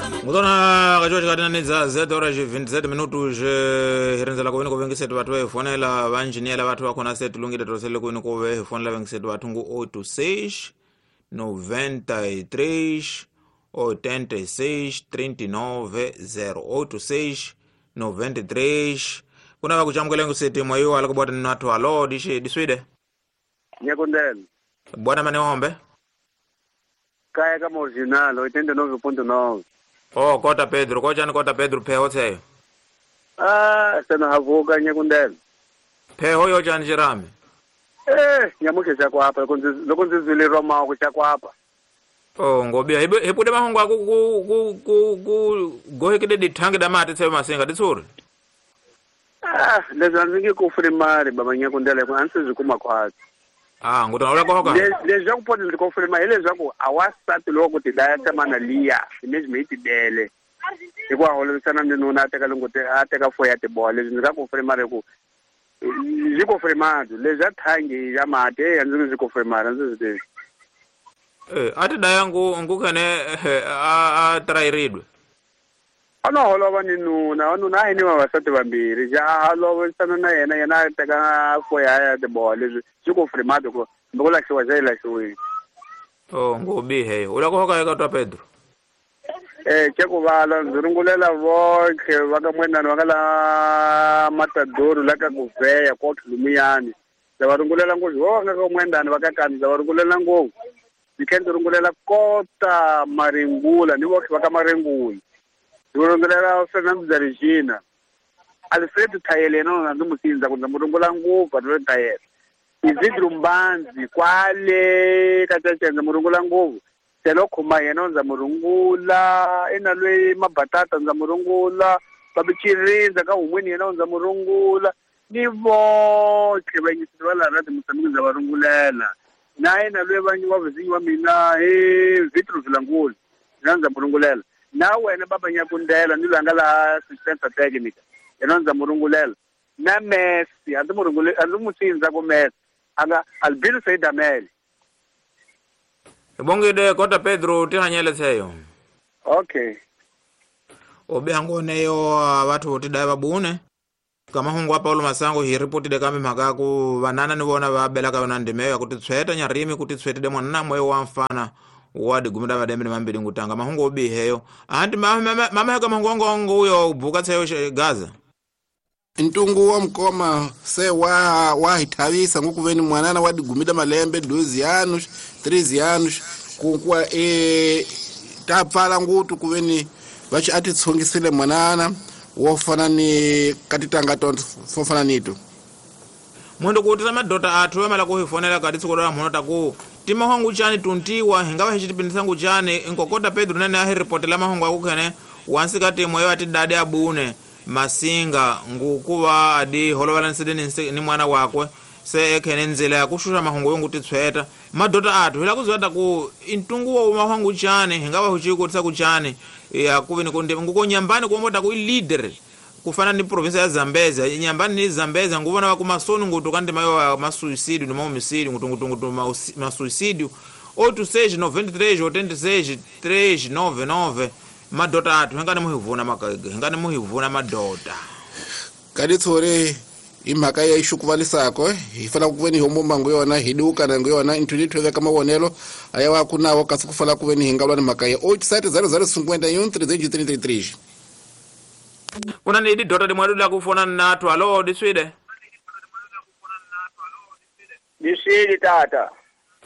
Ngutona kacho chikatinanidza 7 horas 27 minutos hirinzela kuvini kuvengisetu vathu vehifonela vanjiniyela vathu vakhona se tilungile tosele kuvini kuve hifonela vengisetu vathu ngu 86 93 86 39 0 86 93 kuna vakuchamukela ngiseti mwayo ala kubota ni alo dishi diswide nyakondela bwana mane hombe kaya kama original 89.9. Oh, kota Pedro, kochani kota Pedro pheho tseyo. Ah, sena havuka nyakundela. Pheho yo chani chirami. Nyamuke chakwapa loko ndzi zwilirwa maoko chakwapa. Oh, ngobia hipude mahungu aku ku gohekede dithangi da mati tseyo masinga ditsuri. Ah, leswi a ndzi nge ku fuli mali baba nyakundela ku a ndzi swi kuma khwatsi. Ah, ngutona ula kohoka. Leswaku poti ndzi ko fuli mali hileswaku a wasati loko ti daya tsamana liya imagine yi tidele. Hikuva holovisana ni nuna a teka lunguti a teka fo ya tiboha leswi ndzi nga ku fuli mali ku ndzi ko fuli mali leswi a thangi ya mati a ndzi ndzi ko fuli mali a ndzi swi tivi. A ti daya ngu khene a trayiridwe. A no holova ni nuna, nuna a hi ni vavasati vambirhi ja a holovisana na yena yena a teka fo ya tiboha leswi swi ko fuli mali ku hambi ku lahliwa xa yi lahliwile. Oh, ngobihe u la ku hoka eka twa Pedro. Chekuvala ndzi rungulela vonke va ka Mwenani va nga la Matadoro la ka Kuveya ko Tlumiyani ndza va rungulela ngopfu vo nga ka Mwenani va ka Kani ndza va rungulela ngopfu ndzi tlhela ndzi rungulela kota Maringula ni vonke va ka Maringula ndzi rungulela Fernando da Regina Alfredo Thayele yena ndzi mu sindza ku ndza mu rungula ngopfu Alfredo Thayele Isidro Mbanzi kwale ka Caca ndza mu rungula ngopfu Telo khoma yena ndza murungula ina lwe mabatata ndza murungula babichirinza ka humweni yena ndza murungula ni vonke vanyisi va la rati musamiki ndza varungulela na yena lwe vanyi wa vizinyi wa mina he Vitro Vilangula yena ndza murungulela na wena baba Nyakundela ni lwa nga la assistance technique yena ndza murungulela na Messi a ndzi murungule a ndzi musindza ku Messi anga Albino Saidamele. Bongide kota Pedro tihanyele tseyo. Okay. Obe hangoneyo vathu tidaya vabune. Kama hungu wa Paulo Masango hi ripotide kambe mhaka ku vanana ni vona va belaka yona ndimeyo ya kuti tshweta nyarimi kuti tshwetide mwana moyo wa mfana wa digumida madembe ni mambili ngutanga mahungu obiheyo. Anti mama heka mahungu ngo uyo buka tseyo Gaza. Ntungu wa mkoma se wa hithavisa ngukuveni mwanana wa digumida malembe 12 anos 13 anos kunkwa tapfala ngutu kuveni vachi atitsongisile mwanana wofana ni katitanga tonto fofana nito Mwendo kuutisa madota athu amala kuhifonela kati tsikola mhono taku timahwangu chani tuntiwa hingawa hichitipindisa chani nkokota Pedro nene ahiripotela mahungu akukhene wansikati moyo ati dade abune Masinga ngukuva adi holovalaniside ni mwana wakwe se ekhene nzela ya kushusha mahungu yongu titsweta madota athu hila kuziwata ku intungu wa mahungu chani hingawa huchikutisa kuchani ya kuvini kunde nguko nyambani kuomota ku leader kufana ni province ya Zambezia nyambani ni Zambezia nguvona wa kumasoni ngutu kandi mayo masuicidio ni maomicidio ngutu ngutu masuicidio 86 93 86 399 madota athu hingani muhivuna makaiga hingani muhivuna madota kaditsore imhaka ya ixukuvalisako hi fanele ku veni hombo ngo yona hi duka na ngo yona inthu veka mavonelo aya wa ku nawo kasi ku fanele ku veni hi nga lwa ni mhaka ya 870051 3333 kuna ni dota di mwadu la kufona nathu alo diswide diswide tata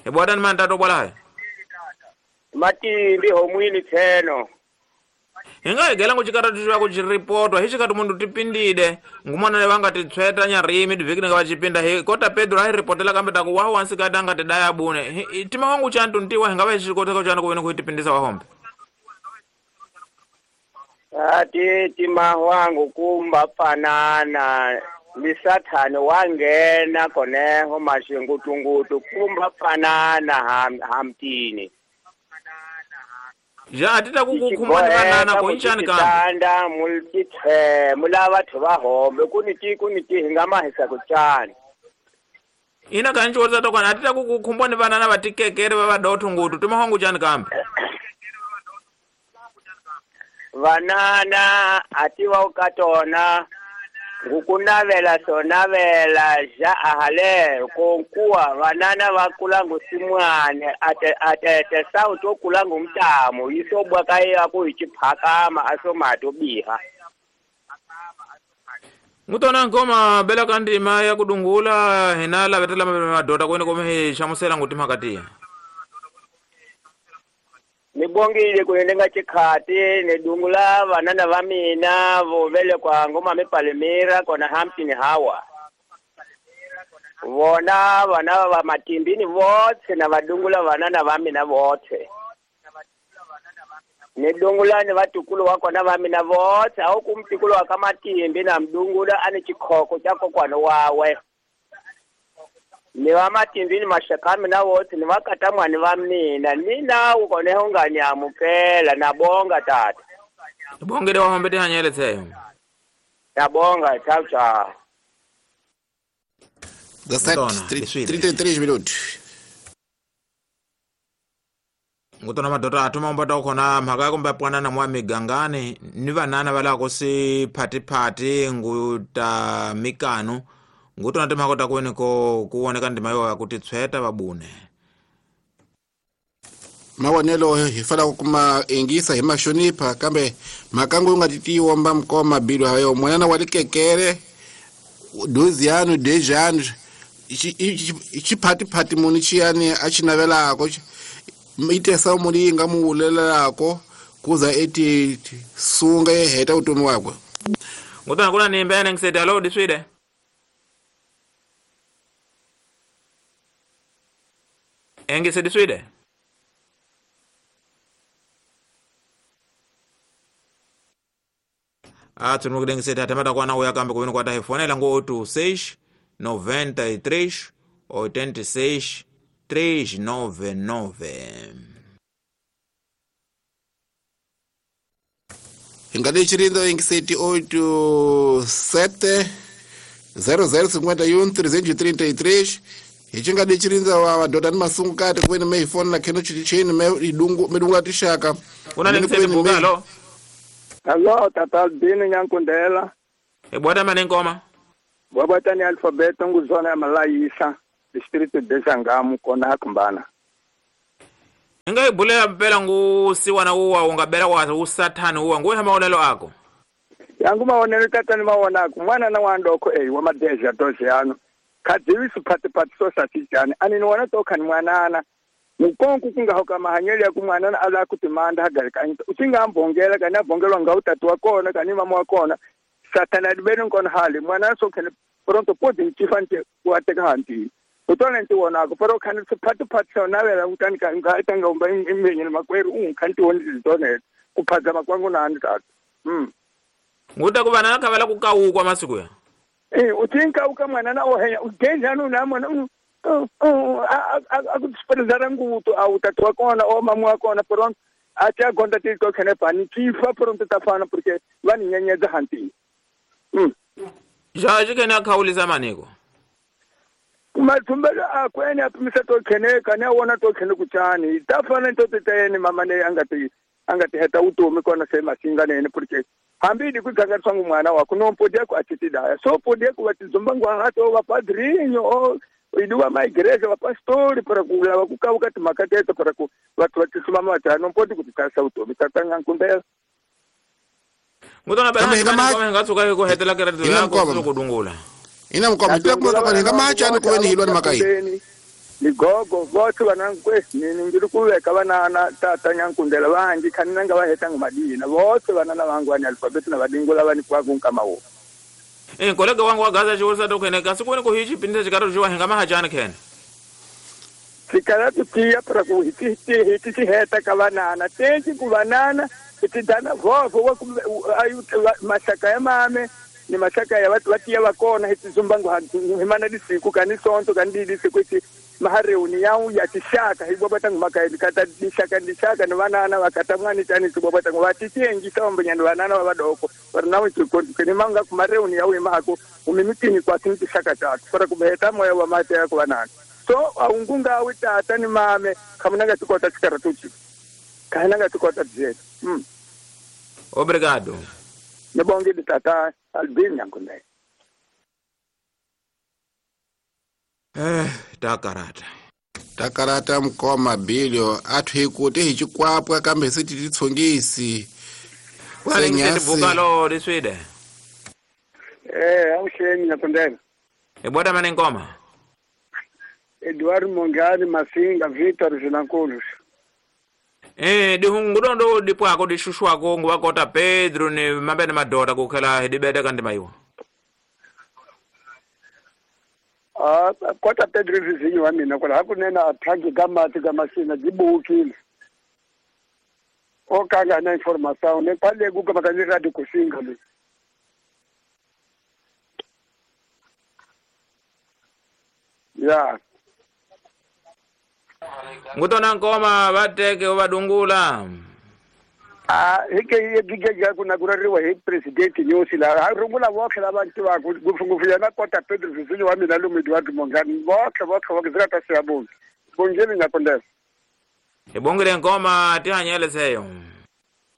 e bwana ni mantato bwala hai matimbi homwini tseno hinga igela nguchikata tuchwa kuchiripotwa hichikati mundu tipindide ngumwana ne vanga titsweta nyarimi divhiki nga vachipinda hi kota Pedro ahiripotela kambe taku waho wansikati anga tidaya bune tima wangu chantu ntiwa hinga vachikoteka chanu kuveni kuitipindisa wahombe ati tima wangu kumba fanana ni sathane wangena koneho mashingutungutu kumba fanana hamtini ja atita kukukhumana vanana ko inchani kanda multithe mulava thova hombe kuniti hinga mahisa kuchani ina kanchi wotsa tokwana atita kukukhumbani vanana vatikekere va vadotho ngutu timahongu chani kambe Vanana ativa ukatona ngukunavela sonavela ja ahale konkuwa vanana vakulangu simwane atete sauti okulangu mtamo isobwa kaye akuichiphakama asomato biha. Ngutona nkoma bela kandima ya kudungula hina lavetela madota kwene kome hlamusela ngutimhaka. Nibongile kuyendenga chikhati nidungula vanana va mina vo velekwa ngoma mipalemira kona Hampton Hawa. Vona vana va matimbini votse na vadungula vanana va mina votse. Nidungula ni vatukulu wa kona va mina votse au kumtukulu wa kamatimbi na mdungula ani chikhoko cha kokwana wawe. Ni va matimbini mashaka mina votse ni vakatamwani va mina nina ukone unganyamukela nabonga tata. Bongele wa hombe tihanyele tseyo. Nabonga chao chao. 33 minutos. Ngutona madota atuma mbata ukhona mhaka kumbe pwanana mwa migangani ni vanana va lako si phati nguta mikano ngutona timhaka ta kwene ko kuoneka ndima yo ya kuti tshweta vabune. Mawonelo hi fanele ku kuma ingisa hi mashonipha kambe mhaka ngo nga titiwa mba mkoma bilo hayo mwanana wa likekere 12 anos 10 anos xiphathi muni xiyani a xi navelako itesa muni nga muwulelako kuza eti sunga ye heta vutomi wakwe. Ngutona kuna nimbe ene ngisete alo diswide. Engise diswide. Atsunukide ngisete atemata kwana uya kambe kuvini kwa tahifonela ngo 86 93 86 399. Ingade chirindo ingiseti 87 0051 333 hichingade chirinza wa vadota ni masungukati kuveni meifoni na kheno chini meidungu medungu tishaka. Kuna ngiseti bugalo. Hello tata Albino Nyankundela. Ebwata manengoma. Bwabata ni alfabeto nguzona ya malayisa distrito de Sangamu kona hakumbana. Inga ibulela mpela ngusiwana uwa ungabela kwa usathani uwa nguwe maonelo ako. Yangu maonelo tata ni maona ako mwana na wandoko wa madeja doze ano. Kadiwi supati pati so satijani ani ni wana toka ni mwanana. Mukonku kunga hoka mahanyeli ya kumwanana ala kutimanda hagarika. Usinga ambongela kana bongelwa ngautatu wakona kani mama wakona. Satana adibeni nkona hali mwana so kene pronto podi nchifante kuateka hanti. Utona nti wonako pero khani siphathu phathu nawela utani ka ngaitanga umba imbenye makweru unkanti woni zidone kuphaza makwangu nani tata. Nguta kuba nakabala kukawukwa masiku ya. Utinka uka mwana na ohenya ugenja no na mwana akutsipelezara nguto awutatu wakona o mamu wakona pronto acha gonda tiko khene pani chifa pronto tafana porque vani nyenyeza hanti. Jaji kena khawulisa maniko. Mathumbelo akwene apimisa to khene kana wona to khene kuchani tafana to titayeni mama ne angati heta utomi kona se masinga nene porque hambi dikuganga tsangu mwana wako no podia ku atitidaya so podia ku vatizombangu hato va padrinho o iduwa ma igreja va pastori para ku lava ku kauka timakateto para ku vathu va tisumama va no podi ku tikasa utomi tatanga nkundela. Ngutona bela ngatsuka ku hetela kereke ya ku kudungula. Ina mkwamba tila kuma kwa macha ni kuweni hilwa ni makai. Ligogo vote vanangwe nini ngiri kuveka vanana tata Nyankundela vangi khaninanga va hetanga madina vote vanana vangu vani alfabeti na vadingula vani kwaku nkamawo. Kolega wangu wa Gaza chiwusa tokhene kasi kuweni kuhichi pinisa chikaro chiwa hinga mahachani khene. Sikala tutiya para ku hiti heta ka vanana tenzi ku vanana itidana vovo wa mashaka ya mame ni mashaka ya watu watia wakona hitizumbangu himana disiku kani sonto kani disiku iti mahareuni yau ya tishaka hibwabata ngumaka kata dishaka dishaka ni wanana wakatamwani tani tibwabata ngwatitiengi samba ni wanana wabadoko warnawe tukoni manga kumareuni yau imako umimitini kwa tishaka tatu para kumheta moyo wa mate yako wanana so aungunga awita tani mame kamunanga tukota chikaratuchi kainanga tukota jetu. Obrigado. Ni bongile tata Albin Nyankundela. Takarata. Takarata mkoma bilio athu hikuti hi chikwapwa kambe se ti titsongisi. Bukalo diswide. Awuxeni Nyankundela. Ibota mane nkoma. Eduardo Mongani Masinga Victor Zinankulu. Dihungudondo dipwako dishushwako nguwakota Pedro ni mabene madota kukhela dibete kanti maiwa. Kota Pedro vizinyo wa mina kwala hakunena athangi kamati kamasina dibukile. Okanga na informação ne kwale kuka makani radio kusinga le. Ya. Ngutona nkoma vateke vadungula. Hike yegige kuna kurariwa hi president Nyusi la rungula votlhe lava tivaka ngopfungopfu yena kota Pedro Vizinyo wa mina lomu Eduardo Mongani votlhe votlhe votlhe ta siyabonga. Bongeni Nyankundela. Ibongile nkoma tihanyele seyo.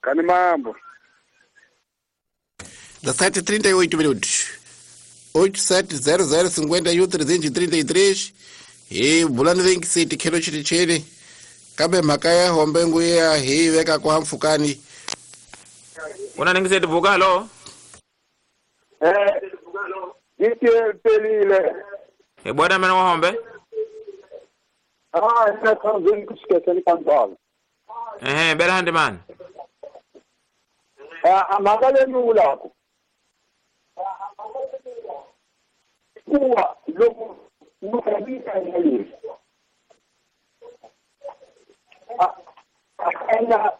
Kani mambo. 17:38 minutos. 8700 51 333 hi bulani venkisiti khelo chitichini kambe mhaka ya hombe nguya hi veka kwa mfukani. Una ningiseti bukalo? Pelile. Ibona mena wa hombe? Ina kanzeni kusikeseni kanzalo. Bela handi man. Amagale nulako. Kuwa loku mukabisa yali. Akana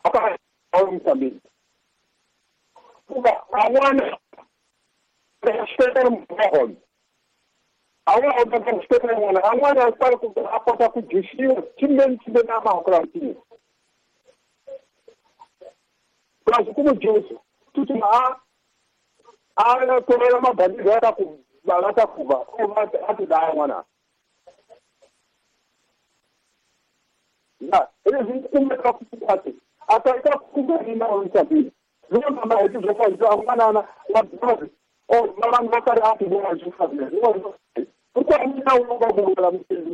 aka awumsambi. Kuba awana respeta mhon. Awa respeta mwana awana para ku apota ku jishiwa timben timben ama okranti. Mas como juice tutu a torela mabandi ata ku balata kuba o ati da mwana. Na eles kumeka kupati ataita kuba na onsabi. Zona ma etu zofa zo mwana na wa o mama ngakari ati bona jufa ne. Pourquoi mina unoga bula mtezi.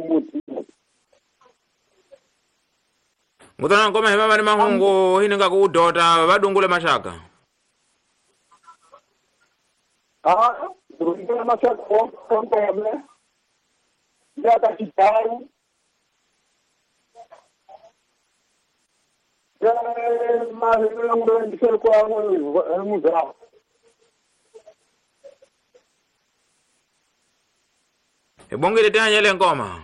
Ngutona nkoma hema ni mahungu hini ngakudota vadungule mashaka. Dungule mashaka onke ya ta chitaru. Ya ma ngule ndisel kwa muzao. Ibongile tanyele ngoma.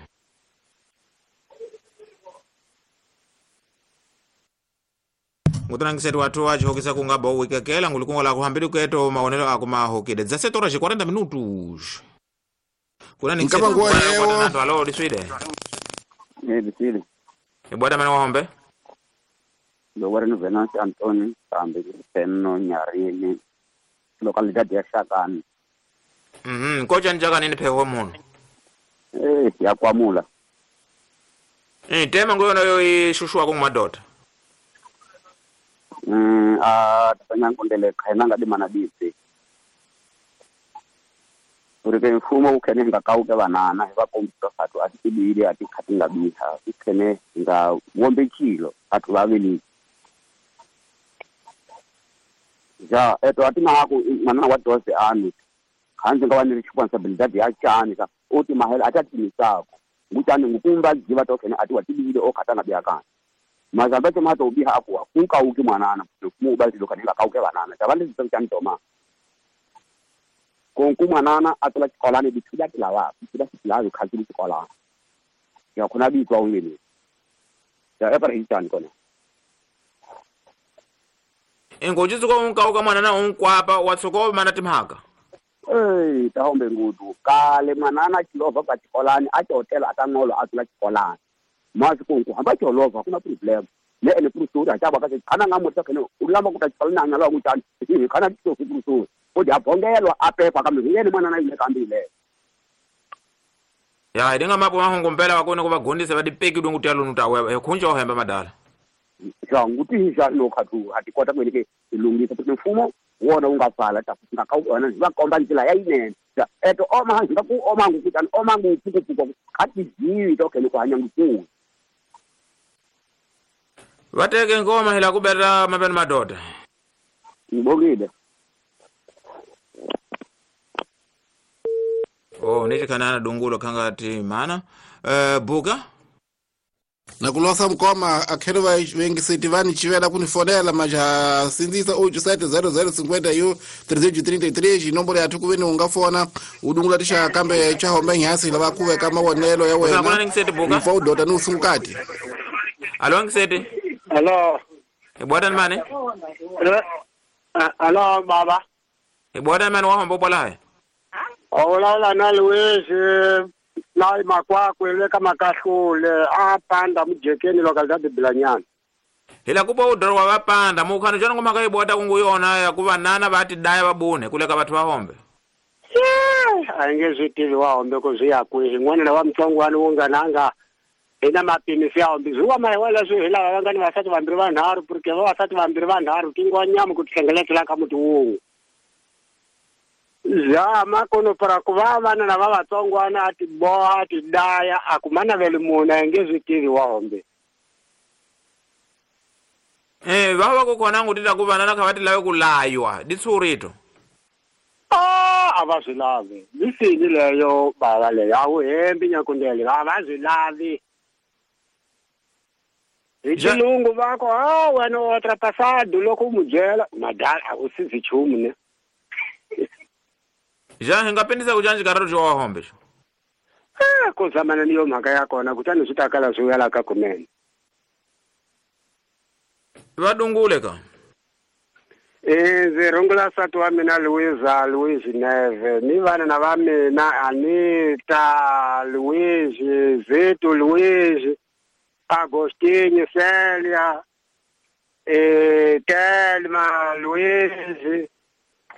Ngutanangisetu watu wachihokisa kungaba uwikekela ngulikunga la kuhambili kweto maonelo ako mahokide. 17:40 minutos. Kuna Nkama nguwa leo. Alo diswide. Diswide. Ibwada mwana wahombe? Lowari ni Venance Antoni kambe Penno Nyarini localidade ya Shakani. Kocha njaka nini pheho muno? Ya kwamula. Tema ngoyo nayo ishushwa kungumadota. Tanyankundele khayina nga dimana disi. Uri mfumo ukhene nga kauke banana hi va kombisa athu a tibili a tikhati nga biha ukhene nga wombe chilo athu vavili. Ja eto atina haku manana wa dose anu khanzi nga wa ni responsibility ya chani ka uti mahela atatimisako ngutani ngukumba jiva tokhene ati wa tibili o khatanga biakana. Mazambacho mato ubiha akuwa kunka uki mwanana mu bazi lokani kauke banana tabale zitantoma konku mwanana atola chikolane bithuda tilawa bithuda tilawa khazili chikolane ya khona bitwa ulini ya epara hitani kona engoji tsuko unkauka mwanana unkwapa watsuko mana timhaka tahombe ngudu kale mwanana chilova ka chikolane achotela atanolo atola chikolane mazi konku hamba cholova kuna problem ne ene prusura achaba kase kana ngamotsa kene ulama kuta chikolane nalo ngutani kana tsofu prusura odi abongelwa apepa kambe yena mwana na ile kambile ya idinga mapo mahungu mpela wakone kubagondisa badipeki dungu talo nutawe khunja ohemba madala Ja nguti ja no khatu a ti kota ku ke lungisa ku mfumo wona wu nga pfala ta nga ka wona va komba ndlela ya yinene. Ja eto oma nga ku oma ngu kutani oma ngu puku kha ti ziwi to ke ku hanya ngu. Vateke ngoma hila kubera mabeni madoda. Ngibongile. Oh nichikanana dungulo kanga ti mana buka na kulosa mkoma akhelo va vengiseti vani chivela kunifonela maja sinzisa 870050 u 333 nomboro ya tukuveni ungafona udungula tisha kambe cha hombe nyasi lava kuveka mawonelo ya wena mfa udota ni usungukati. Alo ngiseti. Alo. Ibwada mane? Alo baba. Ibwada mane wa hombo bola hai. Ola na Luis na makwakwe leka makahlule apanda mujekeni localidade Bilanyana. Hila kupa udoro wa vapanda mukhano chona ngoma kaibwada kunguyona ya kuva nana vati daya vabune kuleka vathu vahombe. Ainge zwitivi wahombe ko zwi yakwihi n'wana wa mtsongwana wu nga nanga ina mapimisi ya hombe zuwa mara wala zwi hila va nga ni vasati vambirhi vanharhu porque vavasati vambirhi vanharhu tingwanyama ku tihlengeletela ka muti wun'we. Ja makono para ku va vana lava vatsongwana a ti boha a ti daya a ku manaveli munhu a nge swi tivi wa hombe. Va va ku khona ngutita ku vana kha va ti lave ku laywa ditshurito. A va swi lavi lisini leyo bava leyo a wu hembi nyakundele a va swi lavi. Hi xilungu va ku a wena u ultrapassado loko u mu byela madala a wu sizi nchumu ne. Ja hi nga pendisa ku canja kararo xo wa hombe xo. Ku zamana ni yo mhaka ya kona kutani swi ta kala swi wela ka kunene. Va dungule ka. Ndzi rungula nsati wa mina Luisa Luis Neve ni vana na va mina Anita Luis Zito Luis Agostinho Celia Telma Luis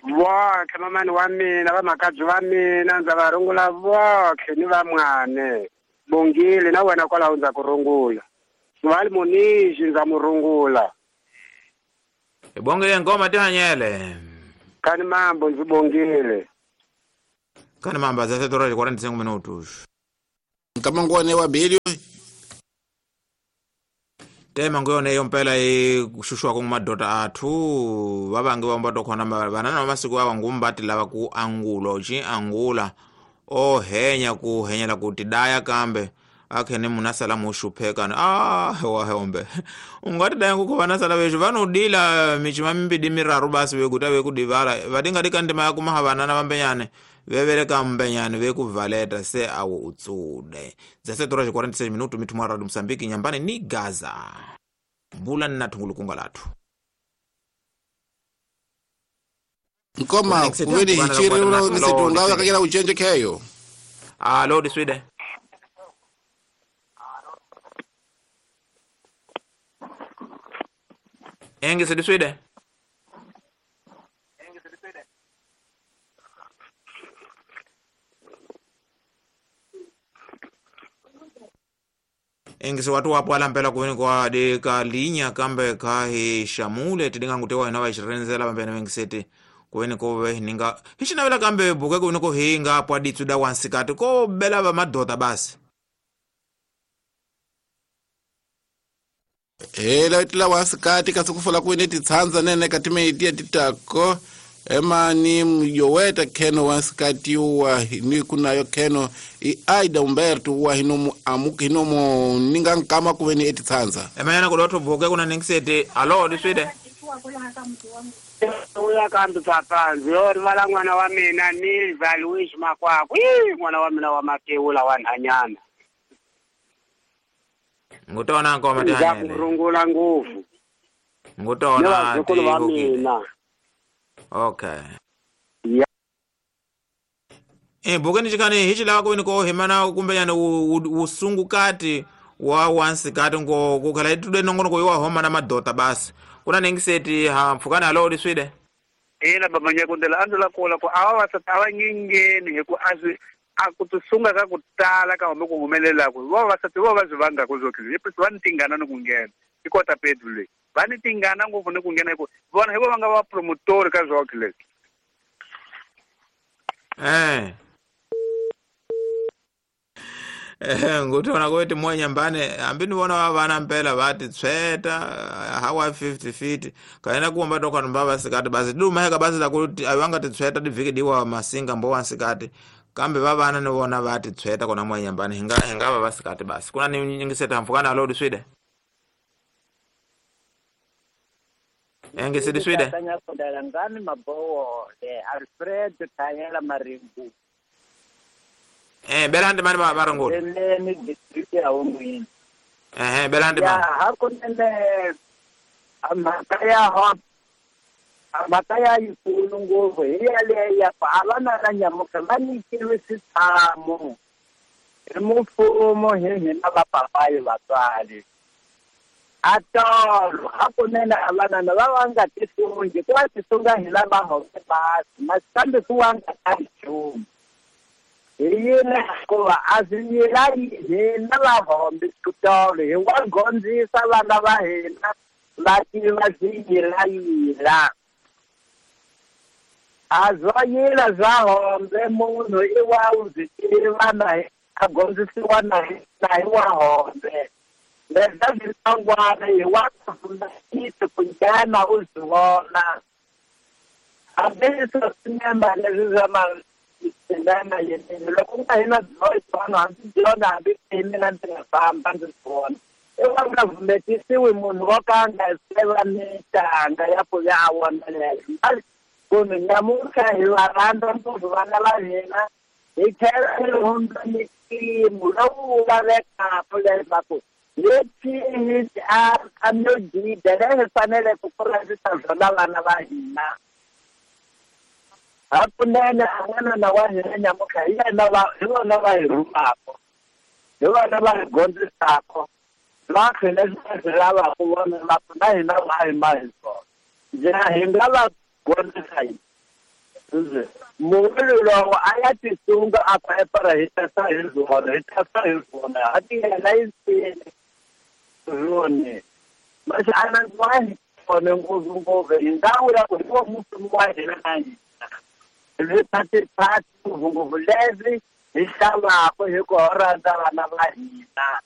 votlhe mamani wa mina vamakadzi va mina ndza va rungula votlhe ni vamwane Bongile na wena kwalaho ndza ku rungula Sivali Monixi ndza mu rungula. Bongile ngoma tihanyele. Kani mambo ndzi bongile. Kani mambo za 7:45 minutos. Kama ngone wa bilio tema ngone yo mpela kushushwa ku madota athu vavangi va mbato khona vanana masiku awa ngumbati lava ku angulo chi angula o henya ku henyela ku tidaya kambe akhene munasala mushupheka wa hombe ungati daya ku vana sala vesho vanodila michima mimbidi miraru basi vekuta vekudivala vadinga dikandima ya kumaha vanana vambenyane vevereka mbenyane vekuvaleta se awo utsude za 7:46 minuto mitumwa radio Msambiki nyambani ni Gaza bula na tungulukunga lathu nkoma kuveni hichiri unisetungawa kakela uchenje keyo. Alo diswide. Engis diswide. Engis watu wapo ala mpela kuweni kwa deka linya kambe kahi shamule tidinga ngutewa inawa ishirenzela pambene wengiseti kuweni kowe ninga hishinawela kambe buke kuweni ko hinga apo aditsuda wansikati ko bela ba madota basi. Hela itila wansikati kasukufula kuweni titsanza nene katime itia titako emani mjoweta keno wansikati wa ni kunayo keno i Aida Umberto wa hinomu amuki hinomu ninga nkama kuweni etitsanza. Emanyana kudoto buke kuna ningiseti alo diswide. Uya kambi papanzi yo rivala n'wana wa mina Nilva Luis Makwakwe n'wana wa mina wa Matewula wa Nhanyana. Ngutona ngoma tihanyele. Rungula ngopfu. Ngutona va mina. Okay. Yeah. Bukeni chikani hichi lava kuweni ko himana kumbenyana usungukati wa wansikati ngo kukhala itude nongono ko iwa homa na madota basi. Kuna ningiseti ha mfukana alo diswide. Ina baba nyakundela andula kola ko awa awa nyingeni hi ku azwi a ku tisunga ka ku tala ka hombe ku humelela ku va vasati vo va swi vanga ku zwo ki va ni tingana ni ku nghena. I kota Pedro leyi va ni tingana ngopfu ni ku nghena hi ku vona hi vo va nga va promotori ka zwokhe leswi. Ngutona ku ti moya mbane hambi ni vona va vana mpela va ti tshweta hawa 50 feet kaena kuomba toka numba vasikati basi duma heka basi la kuti awanga ti tshweta ti vhiki diwa masinga mbo wansikati kambe va vana ni vona va ti tshweta kona moya mbane hinga va vasikati basi kuna ni nyingiseta mfukana lodi swide engisidi swide ngani mabowo de Alfred Tayela Marimbu belande mani marangolo ni district ya Ongwini belande mani ya hakunene mhaka ya yikulu ngopfu hi yaleyo ya ku a va na na nyamuka va nyikiwe switshamo hi mfumo hi hina vapapayi vatswari a tolo hakunene a vanana va va nga tisungi ku va tisunga hi lava hombe basi masi kambe ku wa nga ta nchumu hi yini hikuva a swi yila hina vahombi switolo hi wa gondzisa vana va hina va tiva swi yilayila a zwa yila swa hombe munhu i wa u byi tiva na a gondzisiwa na hi wa hombe leswa swi hi wa kufundisa ku nghena u swi vona hambi swo sinema leswi swa ma yini loko nga hina byona hambi byona hambi mina ndzi nga famba ndzi vona i wa nga vumetisiwi munhu wo ka a nga seva mitanga ya ku ya a vonelela kumbe nyamuntlha hi va rhandza ngopfu vana va hina hi tlhela hi hundza mimpimo lowu lavekaka leswaku leswi a no dida leyi hi faneleke ku kurisa byona vana va hina hakunene a n'wanana wa hina nyamuntlha hi yena hi vona va hi rhumaka hi vona va hi gondzisaka va khe leswi va swi lavaka vona va ku na hina va hi ma hi swona njhe hi nga va gondzisa yini munhu lowo a ya tisunga a ku epara hi tasa hi zwona hi tasa hi zwona a ti yena yi sile zwone masi a na wa hi kona ngopfu ngopfu hi nga vula ku hi wo mfumo wa hina na hina leswi hi xavaka hi ku rhandza vana va hina.